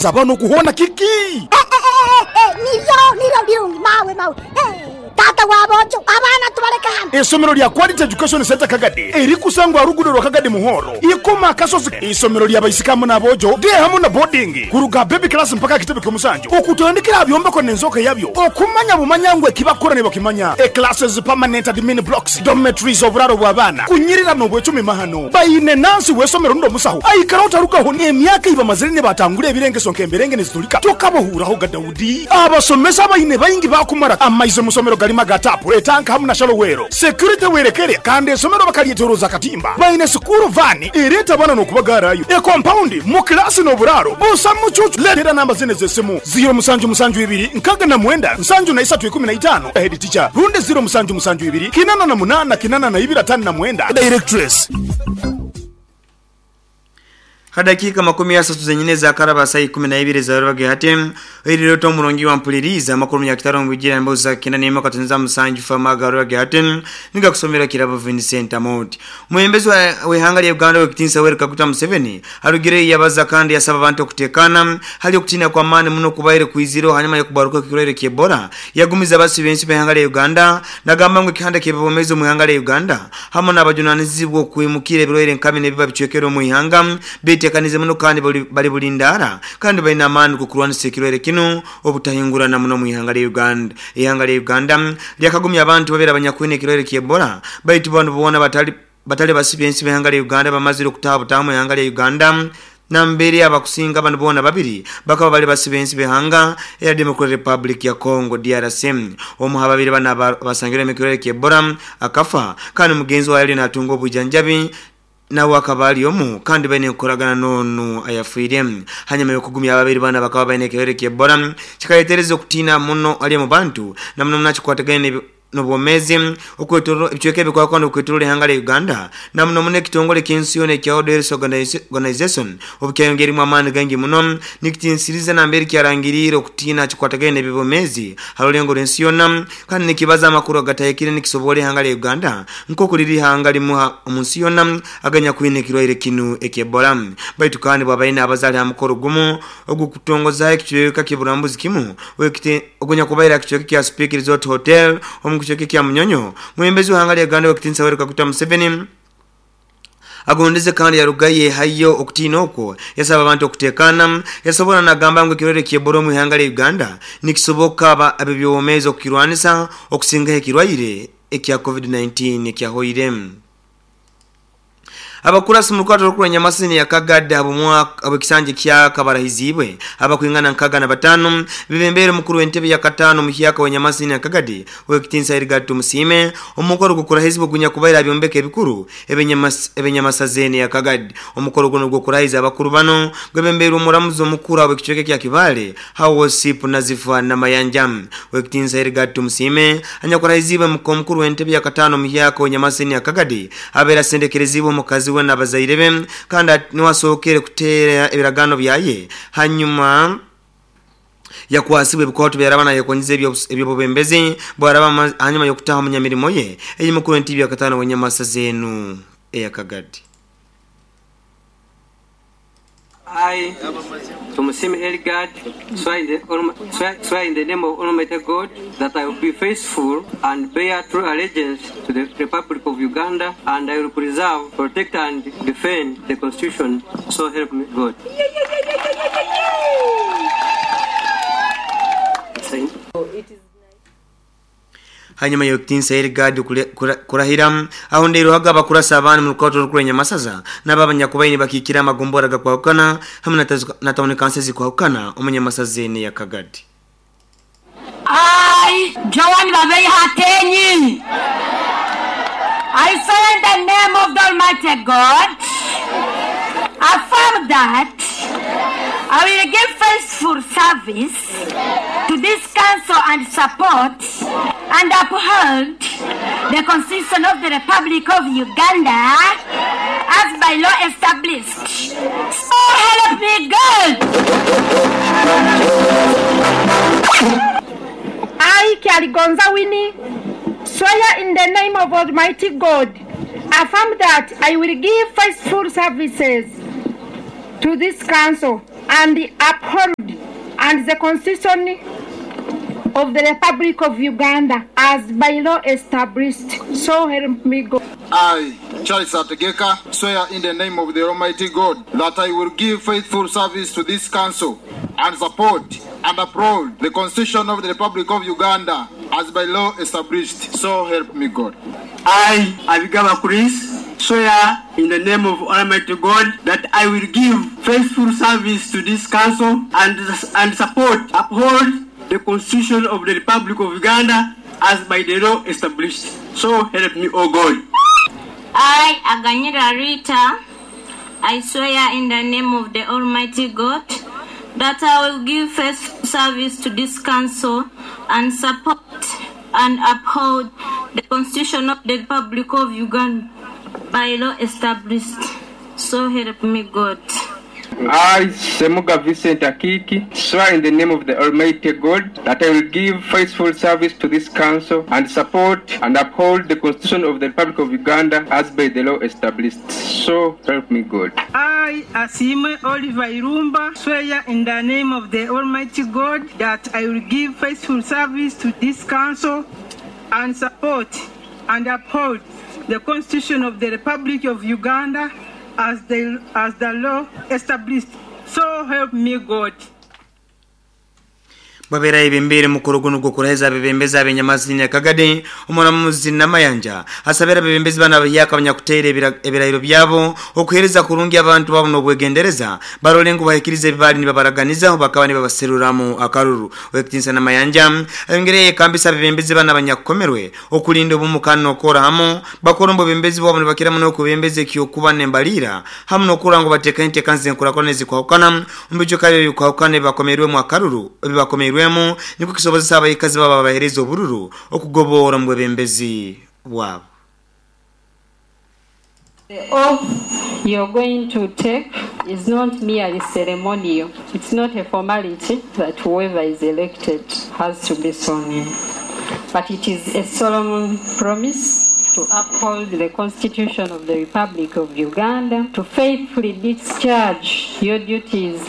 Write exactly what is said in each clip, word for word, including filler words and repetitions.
Zabano kuhona kiki Eh, eh, eh, nibyo nibyo birungi mawe mawe. Eh, tata wabojo abaana tubaleka hano. Isomero lya Quality Education Center Kagadi erikusangwa rugudo rwa Kagadi Muhoro ikoma kasozi. Isomero lya baisikamu n'abojo de hamu na boarding kuruga baby class mpaka kitebe ky'omusanju okutandikira byombeko n'enzoka yabyo okumanya bumanya ngwe kibakora ne bakimanya. E classes, permanent admin blocks, dormitories, oburaro bw'abaana kunyirira n'obwecumi mahano bayine nansi w'esomero ndo musaho aikara otarugaho n'emyaka ibamazire ne batangura ebirengeso nk'emberenge nezitulika tokabahuuraho ga Daudi. Abasomesa bayine bayingi bakumara amaize musomero galima gatapu etanka hamu na shalowero security werekere kandi esomero bakalyeteroza katimba bayine sukuru vani ereta bana n'okubagarayo e compound mu klasi n'oburaro busa mucucu. Letera namba zine z'esimu ziro musanju musanju ibiri nkaga na mwenda nsanju na isatu ikumi na itano head teacher runde ziro musanju musanju ibiri kinana na munana kinana na ibiri atano na mwenda directress. Hadakika makumi ya satu zenyine za karaba saa ikumi na ibiri za ruwage hati iliro to murongi wa mpuliriza makuru ya kitaro mwijira mboza kina nema katunza musanju fama garuwage hati niga kusomera kirabo Vincent Amoti. Mwembezi wa wehanga lya Uganda wekitinsa Yoweri Kaguta Museveni arugire yabaza kandi yasaba abantu kutekana hali okutina kwa mani muno kubaire kuiziro hanyuma yokubaruka kirwaire ky'Ebola yagumiza basi bensi behanga lya Uganda nagamba ngo kihanda kebomeza mu hanga lya Uganda hamwe n'abajunanizibwa kwimukira ebirwaire nkami nebiba bicwekero mu ihanga bite kanize muno kandi bali bulindara kandi balina amaani kukulwanisa ekirwaire kino obutahingurana muno mu ihanga lya Uganda. Ihanga lya Uganda lyakagumya abantu babiri abanyakwine ekirwaire ky'Ebola baitu bantu bona batali batali basibye ensi behanga lya Uganda bamazire okutaabutamu ihanga lya Uganda nambere abakusinga abantu bona babiri bakaba bali basibye ensi behanga ya Democratic Republic ya Congo D R C. Omu babiri bana basangira ekirwaire ky'Ebola akafa kandi mugenzi wa yali natunga obujanjabi na wakabali omu kandi bene nkoragana nonu ayafuire hanyuma yokugumya ababiri bana bakaba bene kirwaire ky'Ebola kikayetereza okutina muno ali mu bantu na muno nakikwatagana nobwomezi okwetoro ebicweka ebikwakwa n'okwetorola ihanga lya Uganda na muno muno ekitongole ky'ensi yona ekya World Health Organization obukyayongeremu amaani gangi muno nikitinsiriza nambere kyarangirire okutina kikwatagana n'ebibomezi halulengo lw'ensi yona kandi nikibaza amakuru agatahikire nikisobola ihanga lya Uganda nk'oku liri ihanga limuha omu nsi yona aganya kwine ekirwaire kinu eky'Ebola. Baitu kandi bwabaine abazaale ha mukoro gumu ogw'okutongozaho ekicweka ky'oburambuzi kimu ogunyakubaire ekicweka kya Speke Resort Hotel omu kicweka kya Munyonyo mwembezi w'ihanga lya Uganda wekitinsa Yoweri Kaguta Museveni agondeze kandi yarugaye hayo okutina okwo yasaba abantu okutekana yasobola nagamba ngo ekirwaire ky'Ebola mu ihanga lya Uganda nikisoboka abebyomezi okukirwanisa okusinga ekirwaire ekya COVID nineteen ekyahoire. Abakurasi mu rukwato rukuru Nyamasini ya Kagadi abumwa abekisanje kya kabarahizibwe abakwingana nkaga na batano bibembere mukuru w'entebe ya katano muhyaka wa Nyamasini ya Kagadi wekitinsa Erigatu Musime omukoro gukurahizibwe gunya kubaira byombeke ebikuru ebenyamas ebenyamasazene ya Kagadi omukoro guno gukurahiza abakuru bano gwebembere omuramuzi omukuru abekicweke kya Kibale hawo sipu nazifa na mayanja wekitinsa Erigatu Musime anyakurahizibwe mukuru w'entebe ya katano muhyaka wa Nyamasini ya Kagadi abera sendekerezibwe mukazi we n'abazaire be kandi niwasokere kutera ebiragano byaye hanyuma yakwasibwe ebikwato byarabana yakonyize ebyobubembezi bwaraba hanyuma yokutaha munyamirimo ye eyimukuru entibi ya katano wenyamasa zenu eyakagadi. I, Tumusime Elgad, swear in the, swear in the name of Almighty God that I will be faithful and bear true allegiance to the Republic of Uganda, and I will preserve, protect, and defend the Constitution. So help me God. Hanyuma yokitinsa Elgad kurahira aho ndero hagaba kurasa abantu mu rukato rukuru Nyamasaza n'abanyakubayini bakikira amagombora gakwahukana hamwe na town council zikwahukana umunyamasazene ya Kagadi. I, Joan Babei Hatenyi, I swear in the name of the Almighty God, affirm that I will give faithful service to this council and support and uphold the Constitution of the Republic of Uganda as by law established. So help me God. I, Kyaligonza Winnie, swear in the name of Almighty God, affirm that I will give faithful services to this council and uphold and the Constitution of the Republic of Uganda as by law established. So help me God. I, Charles Ategeka, swear in the name of the Almighty God that I will give faithful service to this council and support and uphold the Constitution of the Republic of Uganda as by law established. So help me God. I, Abigaba Chris, swear in the name of Almighty God that I will give faithful service to this council and, and support, uphold the Constitution of the Republic of Uganda as by the law established. So help me, O God. I, Aganyira Rita, I swear in the name of the Almighty God that I will give faithful service to this council and support and uphold the Constitution of the Republic of Uganda by law established. So help me God. I, Semuga Vincent Akiki, swear in the name of the Almighty God that I will give faithful service to this council and support and uphold the Constitution of the Republic of Uganda as by the law established. So help me God. I, Asime Oliver Irumba, swear in the name of the Almighty God that I will give faithful service to this council and support and uphold the Constitution of the Republic of Uganda as the, as the law established. So help me God. Babera ibembere mukuru guno gukuraheza bebembeza abenyamazini Kagadi omuramuzi Namayanja asabera bebembezi bana bayaka abanyakutere ebirayiro byabo okuhereza kurungi abantu babo nobwegendereza barole ngo bahikirize bibali nibabaraganiza bakaba nibabaseruramu akaruru. Wekitinsa Namayanja ayongereye kambisa bebembezi bana abanyakukomerwe okulinda obumukano okora hamo bakorombo bebembezi babo nibakira muno kubembeze kiyokuba nembalira hamu nokura ngo bateka intekanze nkurakona zikwahukana umbijo kabe bikwahukane bakomerwe mu akaruru bibakomerwe rwemo niko kisoboza abayikazi baba bahereza obururu okugobora mu bebembezi bwabo. The oath you're going to take is not merely ceremonial. It's not a formality that whoever is elected has to be sworn in. But it is a solemn promise to uphold the Constitution of the Republic of Uganda, to faithfully discharge your duties,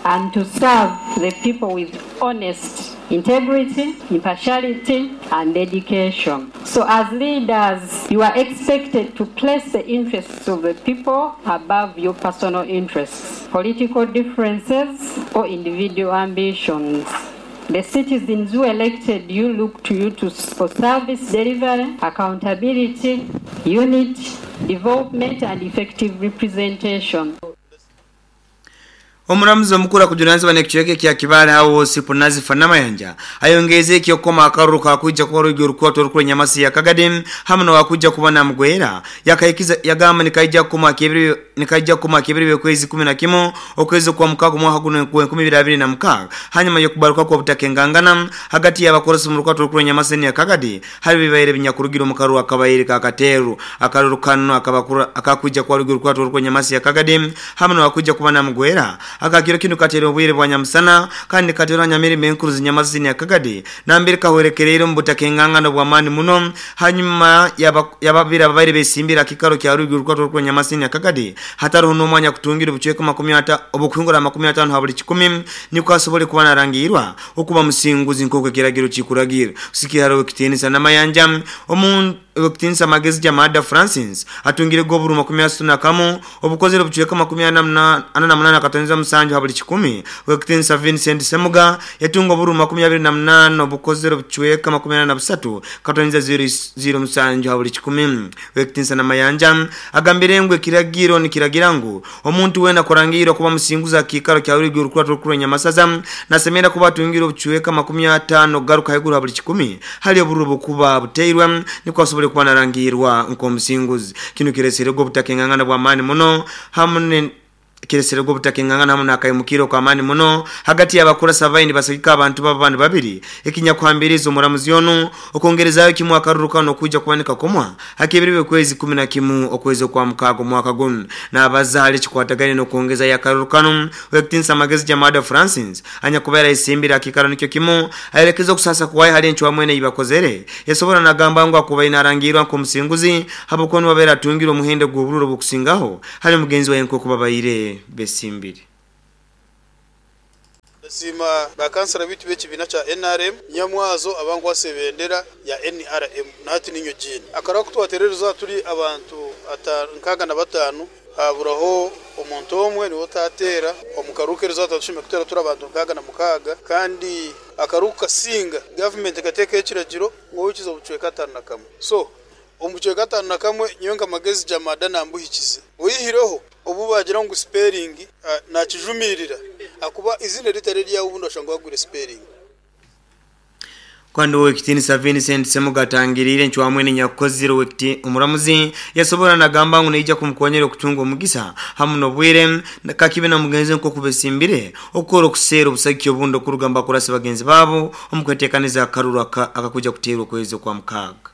and to serve the people with honest integrity, impartiality, and dedication. So as leaders, you are expected to place the interests of the people above your personal interests, political differences, or individual ambitions. The citizens who elected you look to you to, for service delivery, accountability, unity, development, and effective representation. Omuramuzi omukuru akujunanizibwa n'ekicweka kya Kibale hawo Sipunazi Fanamayanja ayongeze kyokoma akaruru kakuja kuba rugi orukwato orukuru nyamasi ya Kagadi hamwe no wakuja kuba na mugwera yakayikiza yagamba nikaija kuma kibiri nikaija kuma kibiri kwezi kumi na kimwe okwezi kwa mukago mwaka guno enkumi ibiri abiri na mukaga hanyuma yokubaruka kwa butakengangana hagati y'abakorosi mu rukwato orukuru nyamasi ya Kagadi hari bibaire binyakurugiro mu karu akabayire kakateru akaruru kano akabakura akakuja kwa rugi orukwato orukuru nyamasi ya Kagadi hamwe no wakuja kuba na mugwera akakiro kino katero obwire bwa nyamusana kandi katero nyamiri menkuru zinyamazini ya Kagadi nambere kahwerekerero mbutakengangano bwa mani muno hanyuma yababira abaire besimbira kikaro kya rugi urukwato rwo nyamasini ya Kagadi hatariho n'umwanya kutungira ubucweka makumi ata obukwingura makumi atano habuli kikumi niko asobole kuba narangirwa okuba musinguzi nkoko kiragiro kikuragira sikiharo kitenisa Namayanja omuntu Wekitinsa magezi Jamada Francis atungire goburu makumi asatu na kamu obukozere obucweka makumi ana na munana katonza musanju habuli kikumi. Wekitinsa Vincent Semuga yatunga oburu makumi abiri na munana obukozere obucweka makumi ana na busatu katonza zero musanju habuli kikumi. Wekitinsa Namayanja agambire ngu ekiragiro nikiragira ngu omuntu wena kurangirwa kuba musinguza kikaro kya rugi urukwato rukuru nyamasaza nasemera kuba atungire obucweka makumi atano garuka heguru habuli kikumi hali oburu bukuba buteirwa niko asobole kuba narangirwa nko musinguzi kino kiresere go butakengangana bwa mani muno hamwe kiresere go butakengangana hamwe nakayimukiro kwa mani muno hagati y'abakora savaini basagika abantu b'abantu babiri ekinyakwambiriza omuramuzi ono okongerezayo kimwe akaruruka no kuja kubanika komwa hakibiriwe kwezi kumi na kimwe okwezi kwa mukago mwaka guno nabaza kikwatagane no kongeza yakarurukano wekitinsa magezi Jamada Francis anyakubera isimbira kikaro nikyo kimu ayerekeza kusasa kuwaye hali enchwa mwene ibakozere yasobora nagamba ngo akuba inarangirwa ku musinguzi habukono babera tungiro muhende gw'obururo bukusingaho hali mugenzi wa enko kubabaire besimbiri. Sima bakansala bitu b'ekibiina kya N R M nyamwazo abankwasa ebendera ya N R M nahati ninyo jini akara kutwaterereza turi abantu nkaga na batanu haburaho omuntu omwe niwe tateera omukarukereza tatushime kutera turi abantu nkaga na mukaga kandi akaruka singa government kateka ekiragiro ngo obucweka atanu na kamwe so omucweka atanu na kamwe nyonga magezi jamada nambuhikize oyihireho obu bagira ngo spelling uh, nakijumirira akuba izina ritare rya ubundo ashangwa gure spelling. Kwando wekitinisa Vincent Semugatangirire nchwamwe ni nyakoziro wekiti umuramuzi yasobora nagamba ngo neija kumukonyera okutunga omugisa hamu nobwire kakibe na mugenzi nko kubesimbire okoro kusera obusaki obundo kurugamba kurasa bagenzi babo omukwetekaniza akaruru akakuja kuterwa kwezi kwa mukaga.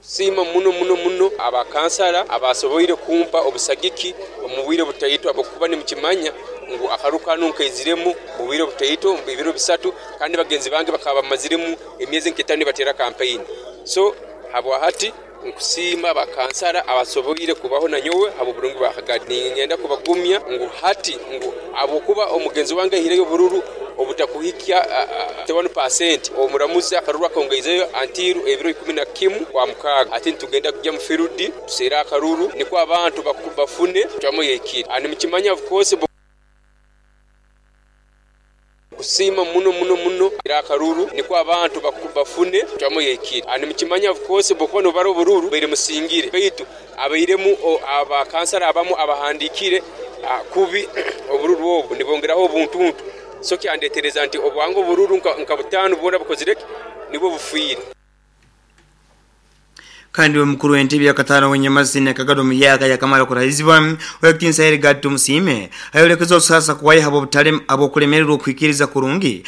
Sima muno muno muno abakansala abasoboire kumpa obusagiki omubwire butaito abakuba ni mukimanya ngu akarukano nkaiziremu mubwire butaito mbibiro bisatu kandi bagenzi bange bakaba bamaziremu emyezi nketano batera campaign so habwa hati nkusima abakansala abasoboire kubaho na nyowe abo burungi bakagadi ngenda kubagumya ngu hati ngu abokuba omugenzi wange hireyo bururu obutakuhikia thirty-one percent omuramuzi akaruru akongeizeyo antiru ebiro ikumi na kimu kwa mukaga ati tugenda kujya mu firudi tusera akaruru niko abantu bakubafune twamo yekira ani mukimanya of course kusima muno muno muno akaruru niko abantu bakubafune twamo yekira ani mukimanya of course bokono baro bururu bere musingire baitu abairemu abakansala abamu abahandikire kubi obururu obu nibongeraho obuntuntu so kyandetereza nti obwango bururu nka butano bona bukozireke nibo bufuire. Kandi mukuru w'entebe ya katano wenyamazini akagado muyaka yakamara kurahizibwa wekitinsa Erigad Tumusime ayolekezo sasa kuwaye habo butale abo kulemererwa okwikiriza kurungi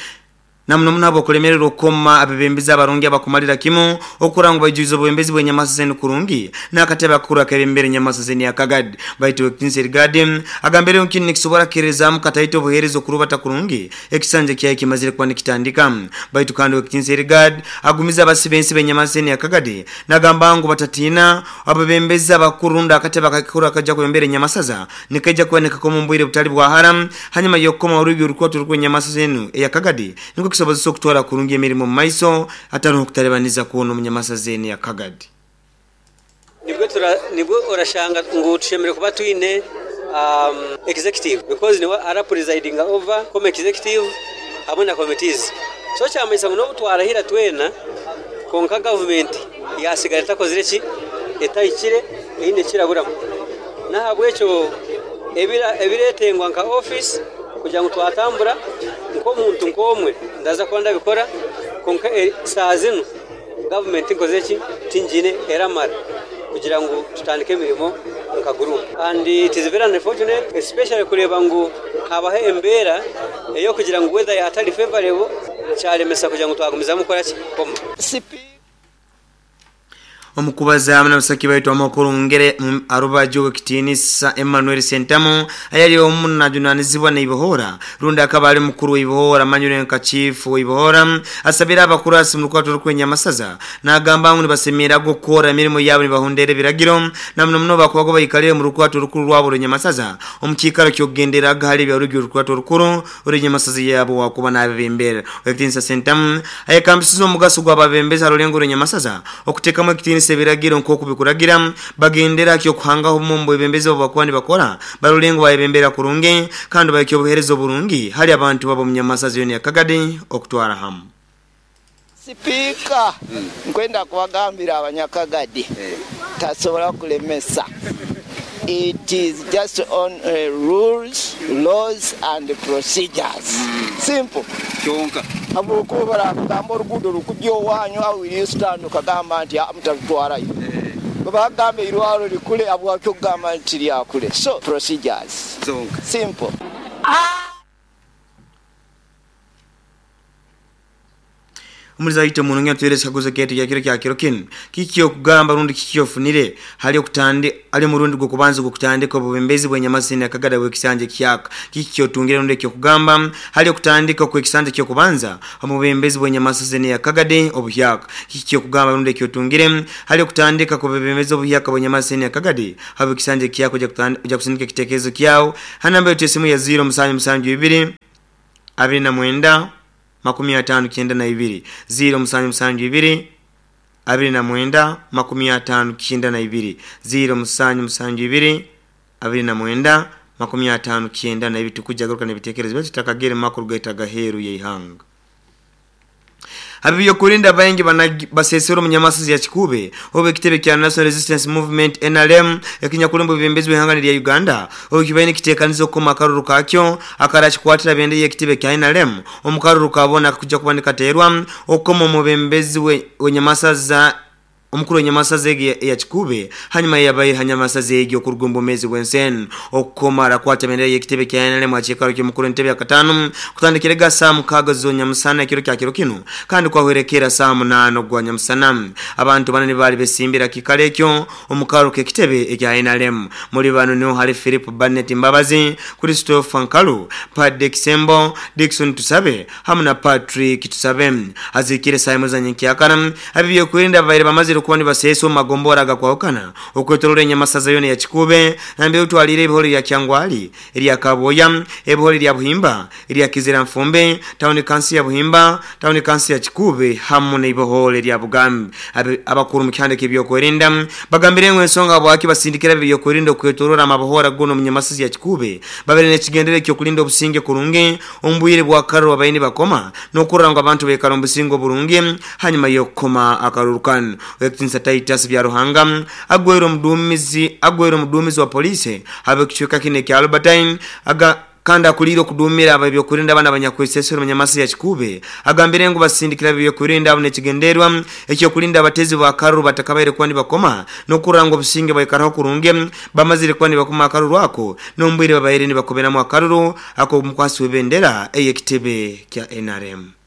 namno munabo kulemererwa koma abebembeza abarungi abakumalira kimu okurangwa bajuzo bwembezi bwenyamazini kurungi nakateba akura kebembere nyamasazini akagad baitu wekitinsa Erigad agambere nkini kisobora kerezamu kataito buherezo kurubata kurungi ekisanje kyaye kimazire kwa nikitandika baitu kandi wekitinsa Erigad agumiza abasibensi benyamasazini akagad nagamba ngo batatina abebembeza abakurunda akateba kakura kaja kubembere nyamasaza nikaja kuoneka ko mumbwire butali bwa haram hanyuma yokoma urubi urukwato rw'enyamasazini eyakagadi niko kisobozo kutwara kurungi emirimo mu maiso atari okutalebaniza kuona omunyamasazini yakagadi. Nibwo tura nibwo orashanga ngo tushemere kuba twine um, executive because niwe ara presiding over come executive hamwe na committees so kyamanyisa ngo nobutwarahira twena konka government yasigara takozire ki etayikire eine kiraburamu nahabwekyo ebira ebiretengwa nka office kugira ngo twatambura nko muntu nkomwe ndaza kuba ndabikora konka saa zino government nkoze ki tingine eramara kugira ngo tutandike emirimo nka group and it is very unfortunate especially kureba ngo habaho embera eyo kugira ngo weather yatari favorable cyalemesa kugira ngo twagumiza mukora ki koma. Omukubaza amna basaki baitu amakuru ngere arubajo kitinisa Emmanuel Sentamo ayali omunajunanizibwa na Ibohora runda akabali mukuru wa Ibohora manyure nka chief wa Ibohora asabira abakurasi mu rukwato rw'enyamasaza nagamba ngo nibasemera gukora emirimo yabo nibahondere biragiro namno muno bakubago bayikalire mu rukwato rukuru rwabo rw'enyamasaza omukikaro kyogendera gahali bya rugyo rukwato rukuru rw'enyamasaza yabo wakuba nabebembera kitinisa Sentamo ayekambisizo omugaso gw'ababembeza rulengo rw'enyamasaza okutekamo kitinisa biragiro nko kubikuragira bagendera kyo kuhangaho mumbo ebembeze bakwani bakora barulengo bayebembera kurunge kandi bayikyo buherezo burungi hali abantu babo munyamasazi yoni yakagade okutwara hamu. Sipika nkwenda kubagambira abanyakagadi tasobola kulemesa. It is just on uh, rules, laws and procedures. Simple. Kyonka. Abukuba kugamba orugudo rukujyo wanyu awu stand kagamba nti amutwarayo. Baba gamba irwaro likule abwakyo kugamba nti lyakule. So procedures. Zonka. Simple. Umuliza ite munonge atuwele sikaguzo ketu ya kiro kya kiro kinu. Kikio kugamba rundi kikio funire. Hali okutandi, hali murundi gukubanzu gukutandika obubembezi bw'enyamasini akagada wekisanje kyaka. Kikio tungire rundi kyo kugamba. Hali okutandika kwekisanje kyo kubanza. Omubembezi bw'enyamasini akagade obuhyaka. Kikio kugamba rundi kyo tungire. Hali okutandika kubebembezi obuhyaka bw'enyamasini akagade. Habu kisanje kyako ja kusindika kitekezo kyao. Hanamba yote simu ya zero msanju msanju ibiri. abiri na mwenda makumi atano kyenda na ibiri ziro musanju musanju ibiri abiri na mwenda makumi atano kyenda na ibiri ziro musanju musanju ibiri abiri na mwenda makumi atano kyenda na ibiri. Tukujagaruka n'ebitekerezo byo tutakagere makuru gaitaga heru yeihanga. Abiyo kurinda baingi basesero munyamasizi ya Kikube obe kitebe kya National Resistance Movement N R M ekinyakulumbu bibembezi wehanga lya Uganda obe kibaine kitekanizo koma akaruru kakyo akarachikwatira bende ye kitebe kya N R M omukaruru kabona kuja kubandika terwa okoma mubembezi we wenyamasaza omukuru nyamasaza ya Kikube hanyuma yabaye hanyamasaza egyo kurugombo mezi wensen okomara kwata bendera ye kitebe kya N R M achikaro kyo mukuru entebe ya katano kutandikirega saa mukaga zo nyamusana kiro kya kiro kino kandi kwahwerekera saa munano gwa nyamusana abantu banene bali besimbira kikalekyo omukaro ke kitebe ekya N R M muri bano niho hari Philip Barnett Mbabazi, Christopher Nkalu, Padek Sembo, Dickson Tusabe hamwe na Patrick Tusabe. Azikire saa muzanye kyakana abiyo kurinda baire bamazire kuwani baseso magombora gakwaukana okwetorora enyamasaza yone ya Kikube nambe utwalire ebihori ya Kyangwali erya Kaboya ebihori lya Buhimba erya Kizira Mfumbe town council ya Buhimba town council ya Kikube hamwe n'ibihori lya Bugambi. Abakuru mu kyandike ebyokwerinda bagambire ngo ensonga bwaki basindikira ebyokwerinda okwetorora amabahora gono mu nyamasaza ya Kikube babere n'ekigendere kyo kulinda obusinge kurungi ombwire bwa karo abayini bakoma nokuranga abantu bekara obusinge burungi hanyuma yokoma akarurukano. Wekitinsa Titus bya Ruhanga agwero mdumizi agwero mdumizi wa polisi habe kichweka kine kya Albertine aga kanda kuliro kudumira ababyo kurinda abana abanyakwesesero munyamasi ya Kikube agambire ngo basindikira ababyo kurinda abone kigenderwa ekyo kulinda abatezi ba karuru batakabaire kwandi bakoma nokuranga obusinge baikaraho kurunge bamazire kwandi bakoma akaruru ako nombwire babaire ni bakobera mu akaruru ako mukwasi webendera eye kitebe kya N R M.